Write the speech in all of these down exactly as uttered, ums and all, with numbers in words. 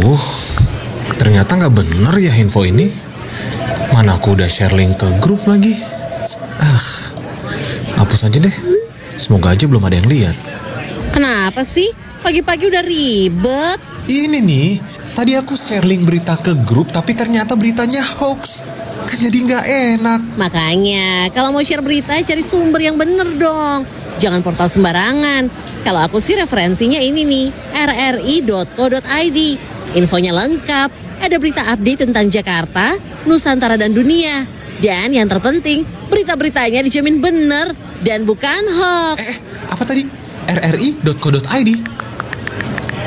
Uh, ternyata nggak bener ya info ini. Mana aku udah share link ke grup lagi. Ah, hapus aja deh. Semoga aja belum ada yang lihat. Kenapa sih? Pagi-pagi udah ribet. Ini nih, tadi aku share link berita ke grup, tapi ternyata beritanya hoax. Kan jadi nggak enak. Makanya, kalau mau share berita, cari sumber yang bener dong. Jangan portal sembarangan. Kalau aku sih referensinya ini nih, R R I dot co dot I D. Infonya lengkap, ada berita update tentang Jakarta, Nusantara dan dunia. Dan yang terpenting, berita-beritanya dijamin bener dan bukan hoax. Eh, eh, apa tadi? R R I dot co dot I D.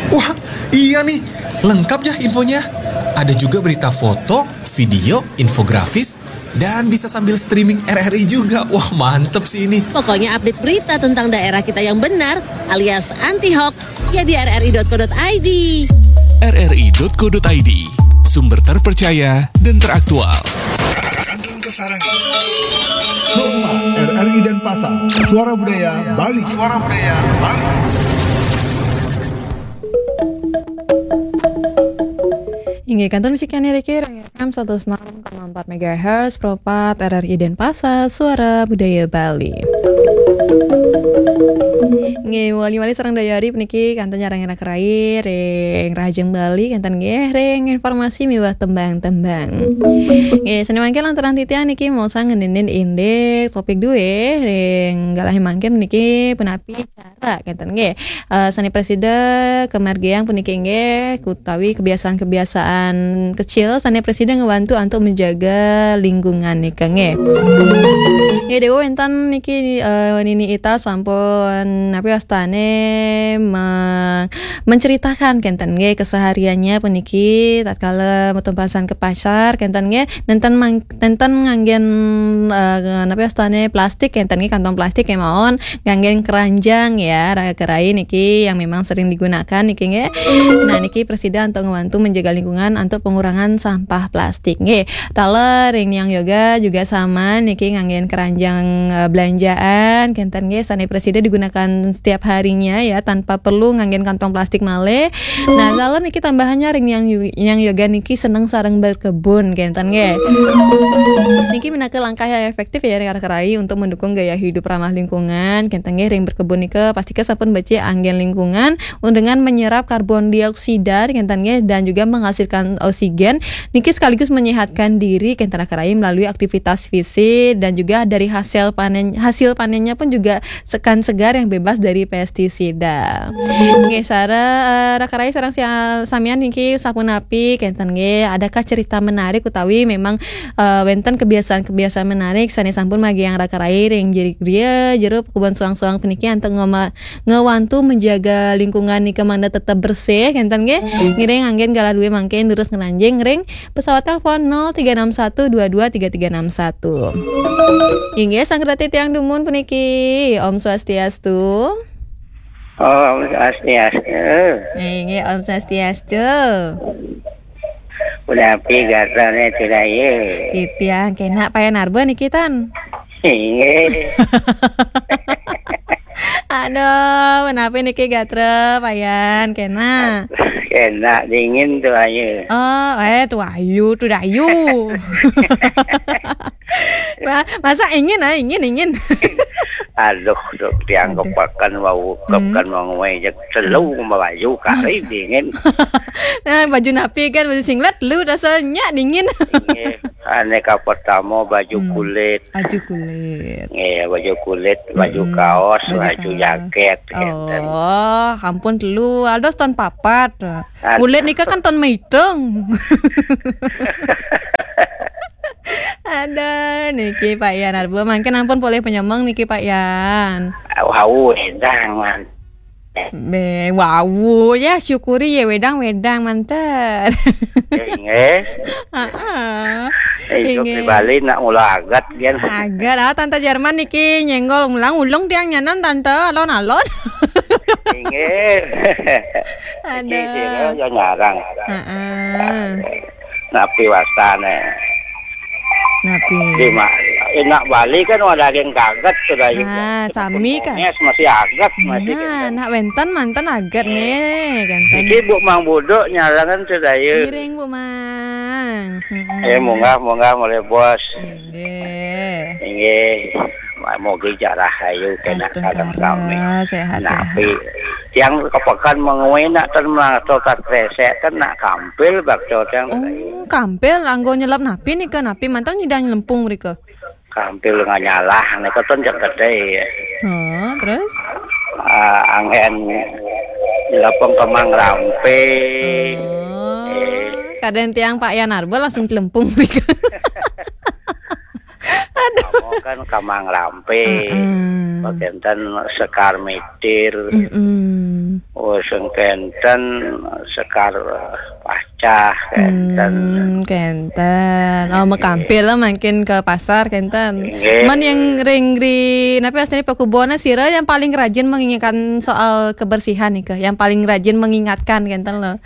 Wah, iya nih, lengkap ya infonya. Ada juga berita foto, video, infografis, dan bisa sambil streaming R R I juga. Wah, mantep sih ini. Pokoknya update berita tentang daerah kita yang benar alias anti hoax ya di R R I dot co dot I D. R R I dot co dot I D, sumber terpercaya dan teraktual. Kantun Kesarangan. Rumah R R I Denpasar, Suara Budaya Bali. Suara Budaya Bali. Inggih, kantun misi kene riki, Reng F M seratus enam koma empat megahertz, Pro empat R R I Denpasar, Suara Budaya Bali. Nggih, wali-wali sareng dayari puniki kantun nyarengin raka rai ring Rahajeng Bali, kenten nggih, ring informasi miwah tembang-tembang. Nggih, sane mangkin lantaran titiang niki maosang ngendhenin indik topik duwe, ring galahing mangkin niki punapi cara, kenten nggih. Eh, sane prasida kamargiang puniki nggih, utawi kebiasaan-kebiasaan kecil sane prasida ngewantu antuk menjaga lingkungan nika nggih. Nggih, Dewa wenten niki, eh, Nini Ita sampun, napi wastane, me-, menceritakan kenten nggih kesehariannya puniki tatkala metumpasan ke pasar kenten nggih, nenten mang-, nenten nganggen, eh, napi wastane plastik kenten nggih, kantong plastik kemawon, nganggen keranjang ya, raka rai niki yang memang sering digunakan niki nggih. Nah, niki prasida antuk ngewantu menjaga lingkungan antuk pengurangan sampah plastik nggih. Taler ring Niang Yoga juga sama niki nganggen keranjang, eh, belanjaan kenten nggih, sane prasida digunakan setiap harinya ya, tanpa perlu nganggen kantong plastik malih. Nah, taler niki tambahannya ring Niang Yu-, Niang Yoga niki seneng sareng berkebun kenten nggih. Niki minaka langkah yang efektif ya, raka rai, untuk mendukung gaya hidup ramah lingkungan kenten nggih. Ring berkebun nika pastika sampun becik anggen lingkungan dengan menyerap karbon dioksida kenten nggih, dan juga menghasilkan oksigen. Niki sekaligus menyehatkan diri kenten raka rai melalui aktivitas fisik, dan juga dari hasil panen, hasil panennya pun juga sekan segar yang bebas dari pestisida. Nggih, sare, eh, raka rai sareng sia-, samian niki sapunapi kenten nggih, adakah cerita menarik utawi memang, eh, wenten kebiasaan-kebiasaan menarik sane sampun magiang raka rai ring jeri-, griya jero kebon suang-suang puniki antuk ngoma-, ngewantu menjaga lingkungan nika mangda tetep bersih kenten nggih. Ngiring anggen galah duwe mangkin terus ngeranjing ring pesawat telepon nol tiga enam satu dua dua tiga tiga enam satu. Inggih, sang reti tiang dumun puniki. Om Swastiastu. Om Swastiastu. Inggih, Om Swastiastu. Punapi gatrane Tiraya? Titiang kenak, Payan Arba niki tan. Inggih. Aduh, punapi niki gatra, Payan, kenak? Kenak, dingin tu ayu. Oh, eh, tu ayu, tu dayu. Ma-, masa ingin, ah, ingin, ingin. Aduh, dok, tiang kepakan wau, hmm, kepakan wau, wai, jak telu, hmm, melayu, kari, masa, dingin. Nah, baju napi kan, baju singlet, lu rasanya dingin. Inggih. Aneka pertama baju, hmm, kulit. Baju kulit. Iya, baju kulit, baju, mm-mm, kaos, baju, baju kaos, jaket, gitu. Oh, ampun telu, aldos ton papat. Aduh. Kulit nika kan ton maitung. Ada niki Pak Yan Arba, mangkin ampun polih penyemeng niki Pak Yan. Wau, edan, man. Be, wau, ya syukuri ya, wedang-wedang manten. Inggih. Heeh. Eh, hidup di, inggih, Bali nak mula agat, kan. Agat, ah, Tante Jerman niki nyenggol ulang ulung tiang nyanan, Tante, alon-alon. Inggih. Ada. Iki sira ya nyarang. Heeh. Napi wastane? Napi? Di ma-, eh, nak Bali kan ada daging gaget sudah juga. Ah, sami kan? Bungis masih aget masih. Nah, kan. Nak wénten manten aget nih, kan. Iki Bu Mang Buduk nyarangan sudah ya. Ngiring, Bu Mang. Mm-mm. Eh, munggah, munggah, mulai bos. Inggih. Inggih. Mugi jarah ayu kena kalem sami. Astungkara, sehat, sehat. Napi, tiang kepekan mengui nak ten melangkah tas kresek ten nak kampil bakso tiang. Oh, kampil anggo nyelep napi nika, napi manten nyidang nyelempung mrika? Kampil nganyalah nika ten jeng gedé ya. Oh, terus? Ah, anggén nyelempung kemang rampe. Oh, eh. Kadén tiang Pak Yan Arba langsung celempung mrika. Aduh. Kamu kan kamang rampe, heeh. Kénten sekar mitir, mm-mm. Oh, sing kénten sekar, eh, pacah, kénten. Hmm, kénten. Oh, mekampil lah mungkin ke pasar, kénten. Nggih. Men yang ring ri, napi astiné pekuboné sira yang paling rajin mengingatkan soal kebersihan nih, yang paling rajin mengingatkan, kénten loh.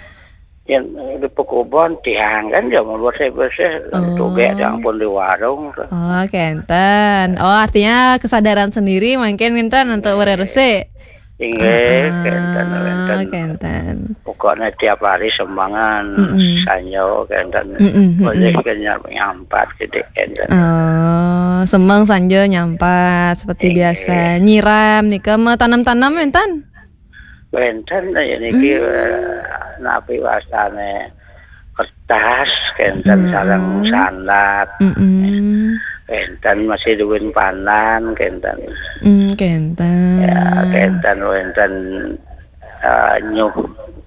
Yang di pekubon tiang kan ya mau bersih-bersih, oh. Tugék ampun di warung tuh. Oh, kénten. Oh, artinya kesadaran sendiri mungkin kénten untuk bersih. Inggih, heeh, kénten, kénten. Kénten. Pokoknya tiap hari semangan, mm-mm. Sanyo, kénten. Mm-mm, mm-mm. Boleh kan nyampat gitu, kénten. Oh, semeng sanjo nyampat seperti biasa. Inggih. Nyiram nika, mau tanam-tanam, kénten? Wénten ya niki, hmm. Eh, napi wastané kertas, kénten, hmm. Sareng sandat. Mm-mm. Kénten masih duwin panan, kénten. Hmm, kénten. Ya, kénten wénten, eh, nyuh,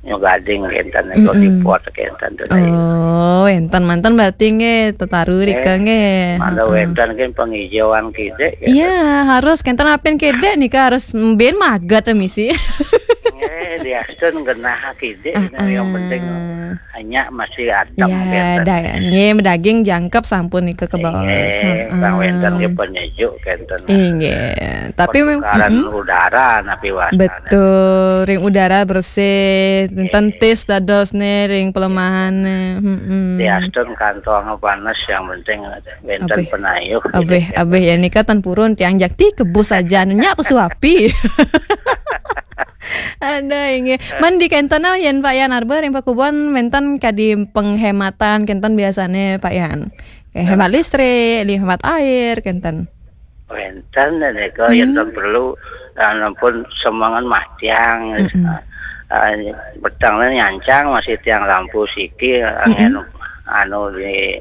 nyuh gading, kénten, mm-mm. Di pot, kénten. Oh, wénten manten berarti nggih, tetaru rika nggih. Mangda wénten kan penghijauan kidik, ya. Iya, harus kénten apin kidik nika harus mbin maget misi. Nggih, diastun genah kidik, ah, yang penting hanya masih adem, ya, kénten. Da-, nggih, daging jangkep sampun nika kebaos. Nggih, heeh. Sang wénten nggih penyejuk kénten. Inggih. Tapi mem-, pertukaran, mm-mm. Udara napi wastané. Betul, ring udara bersih, nggih. Tentis dados nih, ring pelemahan nih. Mm-mm. Diastun kantong panas yang penting wénten penayuh. Abih, gitu, abih ya nika ten purun tiang jakti kebus aja nyak pesu api. Ada inggih. Men di kénten yén Pak Yan Arba ring Pakubuan wénten kadi penghematan kénten biasané Pak Yan. Kayak hemat listrik, hemat air kénten. Wénten nika yén ten perlu, eh, ampun semengan matiang. Mm-mm. Eh, petengné nyancang masih tiang lampu siki, mm-mm. Anggén anu di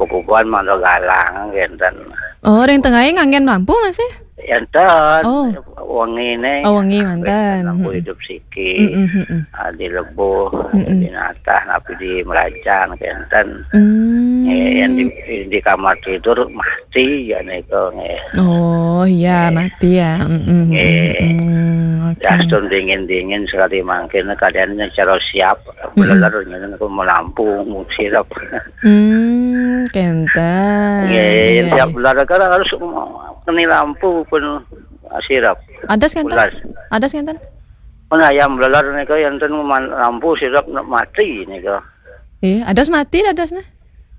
Pakubuan mangda galang kénten. Oh, ring tengahé nganggén lampu masih? Énten. Oh. Wenginé. Oh, wengi manten. Lampu hidup siki. Mm-mm, mm-mm. Ah, di lebuh, mm-mm. Di natah, napi di melajan, kénten. Hmm. Eh, yang di, di kamar tidur mati ya nika nggih. Oh, iya, mati ya. Mm-mm, nggih. Mm-mm, oke. Diastun dingin-dingin sekali mangkin, keadaannya cara siap. Mm-mm. Bleler nyen aku melampu, sirep. Hmm, kénten. Nggih, iya, siap iya. Bleler kan harus kena lampu pun sirep. Adas kénten? Adas kénten? Pun ayam bleler nika yén ten man-, lampu sirep mati nika. Eh, adas mati adas nih.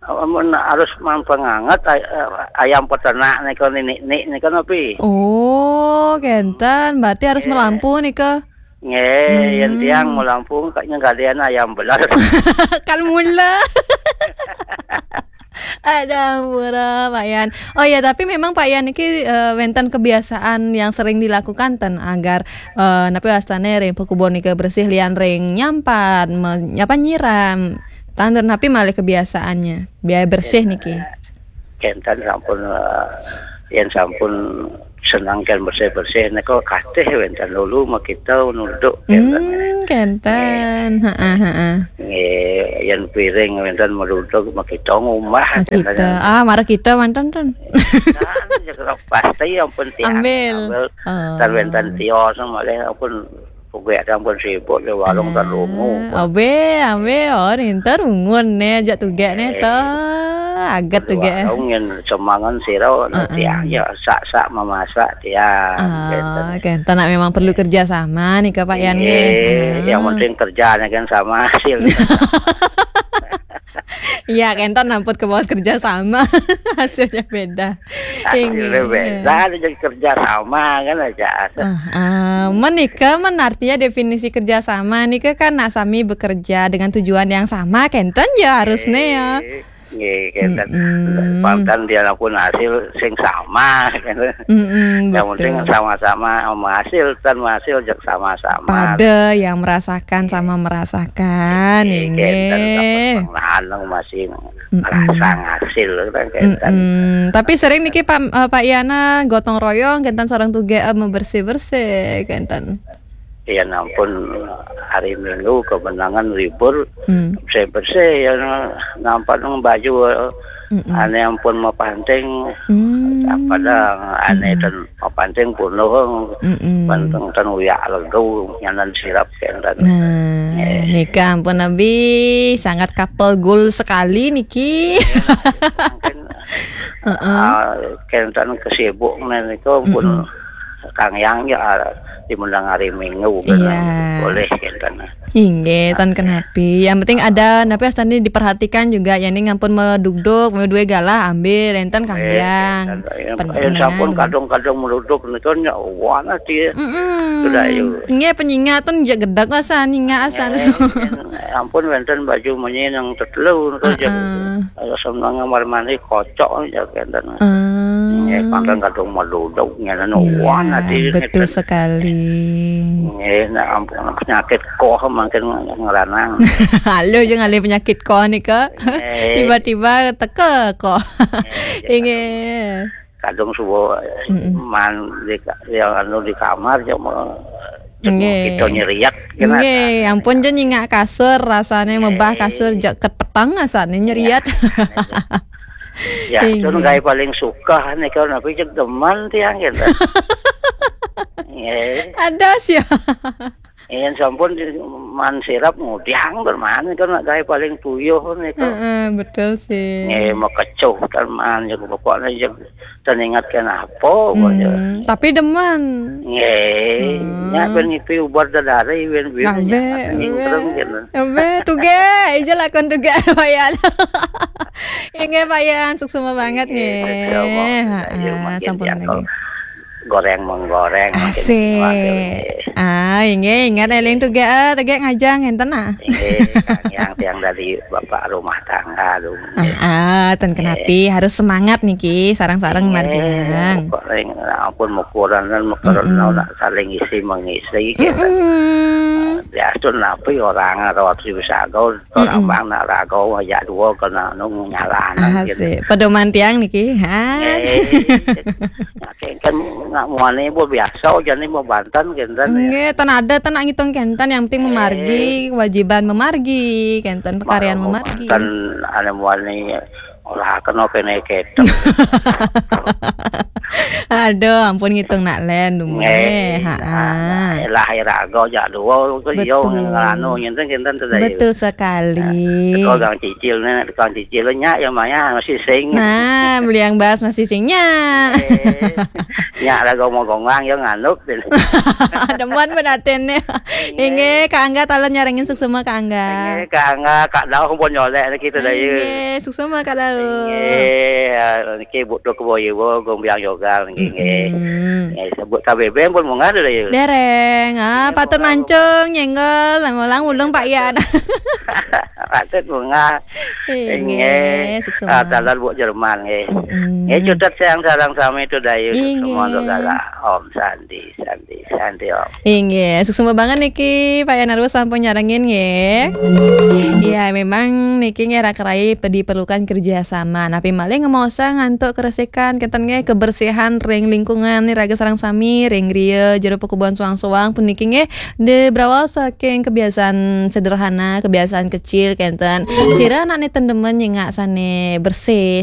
Amun harus mang penganget ay-, eh, ayam peternak nika ninik-nik nika napi? Oh, kénten. Berarti harus melampu nika. Nggih, yén tiang melampu kayaknya galian ayam bleler. Kan mula. Ada murah, Pak Yan. Oh ya, tapi memang Pak Yan niki, eh, wénten kebiasaan yang sering dilakukan ten agar, eh, napi wastané ring Pakubuan nika bersih lian ring nyampat, me-, apa nyiram. Tandur napi malih kebiasaannya biar bersih niki. Kénten sampun, eh, yén sampun seneng kén bersih-bersih nika katih wénten lulu makita nuduk kénten. Hmm, kénten. Heeh, heeh. Nggih, yén piring wénten meruduk makita ngumbah kénten. Makita. Ah, marah kita manten ten. Nah, ya, pasti ampun tiang. Ambil. Ambil. Oh. Tan wénten tios malih ampun. Pokoknya ampun sibuk di warung tan rungu. Abe, abe, oh, ninten rungun né, ajak tugék né, to. Aget tugék. Warung yang semangan sira, heeh. Tiang ya sak-sak memasak tiang. Ah, kénten nak memang perlu kerja sama nih, Kak Pak Yan, nggih. Iya, yang penting kerjanya kan sama hasil. Iya, kenten ampun kebawah kerja sama. Hasilnya beda. Hasilnya beda, ada jadi kerja sama kan aja. Ah, ah, menikah men artinya definisi kerja sama nih kan nak sami bekerja dengan tujuan yang sama, kenten ya harusnya ya. Nggih, kenten. Mm-mm. Pangkan dia lakukan hasil sing sama kan. Mm-mm, Yang penting betul. Sama-sama menghasilkan, menghasil jek sama-sama. Pada yang merasakan sama merasakan, Nggih, kenten. inggih. Pang lanang masih Mm-mm. ngerasa ngasil kan kenten. Mm-mm. Tapi sering niki Pak, eh, Pak Yana gotong royong, kenten sareng tuge eh, bersih-bersih, kenten. Ya ampun, hari Minggu kemenangan libur, Hmm. bersih-bersih ya, nampak nang baju, Mm-mm. ane ampun mau panting, Hmm. apa dah, ane Mm-mm. Ten mau panting penuh, Mm-mm. panting Ten uyak lego, nyanan sirap kenten. Nah, nika ampun Abi sangat couple goal sekali niki. Mungkin Heeh. ah, kenten kesibuk nih itu pun Mm-mm. Kang Yang ya, ah, di menang hari Minggu Iya. Boleh kenten. Inggih, tan kenapi. Yang penting ada napi astane diperhatikan juga ya ning ampun medugduk, mau duwe galah ambil enten Kang Eh, Yang. kenten. Pen- Eh, sampun penengan. Kadung-kadung meruduk nih kan ya wana dia. Mm-mm. Sudah, ayo. Nggih penyingat tun jek gedek lah san nyingat asan. Eh, ampun wenten baju menyenang tetelu nih kan. Heeh. Ayo seneng kamar mandi kocok ya kenten. Ah. Ya pangkan kadung meruduk nyanan Iya, wana dia. betul sekali. Eh, nah ampun penyakit koh makin ngeranang. Halo, jangan ada penyakit koh nih kok. Eh. Tiba-tiba teka koh. Inggih. Kadung subuh Mm-mm. Man di ka- yang anu di kamar cuma Nggih. Kita nyeriak kena. Nggih, ampun je nyingak kasur rasane mebah kasur jek ket petang asane nyeriat. Ya, itu Inggih. Gawe paling suka nih kalau napi cek demen tiang gitu. Nggih. Ada sih. Yang sampun di- Man sirap ngudiang bermain kan nak Gawe paling puyuh nih kan. Heeh, betul sih. Nggih, mekecuh kan Man, ya pokoknya ya teringat kenapa pokoknya. Hmm, tapi demen. Nggih, Hmm. nya ben ngipi ubar dadari ben ben Ambe, nya nyingkrem gitu. Ambe, tuge, ija lakon tuge Payan. Inggih Payan, suksma banget Nggih, nggih. suksma. Heeh, Ayo, makin sampun diangkut. nggih. Goreng menggoreng makin Asik. kuat, nggih. Ah, inggih, ingat eling tuge, eh, tuge ngajang enten ah. Nggih, Kang Yang tiang dari bapak rumah tangga dong. Ah, ah, ten kenapi harus semangat niki, sareng-sareng Nggih, margiang. Kok ning ampun ukuran dan ukuran Mm-mm. nak saling isi mengisi gitu. Mm-mm. Biasa napi orang rawat si bisa gaul, orang Mm-mm. bang nak rago aja dua kena nung nyala gitu. Asik. Pedoman tiang niki. Ha. Eh, kan nggak muani bu biasa jadi mau bantan gitu kan. Nggih, ten ada ten nak ngitung kenten, yang penting memargi, kewajiban memargi, kenten pekarian memargi. Kan ada muani olah kena kene ketok. Aduh, ampun ngitung nak len dume. Nggih. Ha. Lah rago aja dua ke yo Betul. ngelano ngenten kenten tuh dah. Betul sekali. Kau gang cicil nih, kau cicil nya ya maya masih sing. Nah, beli yang bahas masih singnya. Eh, nya rago mau gongang ya nganuk. Demen benaten nih. Inggih, Kak Angga talon nyarengin suksma Kak Angga. Eh, Kak Angga, Kak Dau pun nyolek lagi tu dah ya. Inggih, suksma Kak Dau. Eh, niki butuh keboye bo gombiang yoga niki nggih. Hmm. Eh, sebut K B B M pun munggah tu dah ya. Dereng, ah, patut mancung nyenggol, lang ulung Pak Yan. Patut munggah. Inggih, suksma. Ah, talar buat Jerman nggih. Mm-mm. Nggih, cutet sayang sarang sami tu dah ya. Inggih. Semua tu galah. Om Santi, Santi, Santi Om. Inggih, suksma banget niki Pak Yanarwo sampun nyarengin nggih. Iya, memang niki nggih rak rai pe- diperlukan kerjasama. Napi malih ngemosa ngantuk keresikan kenten nggih kebersihan ring lingkungan nih raga sareng sami ring griya jero pakubuhan suang-suang puniki nggih de berawal saking kebiasaan sederhana, kebiasaan kecil kenten. Sira anak niten demen nyengak sane bersih,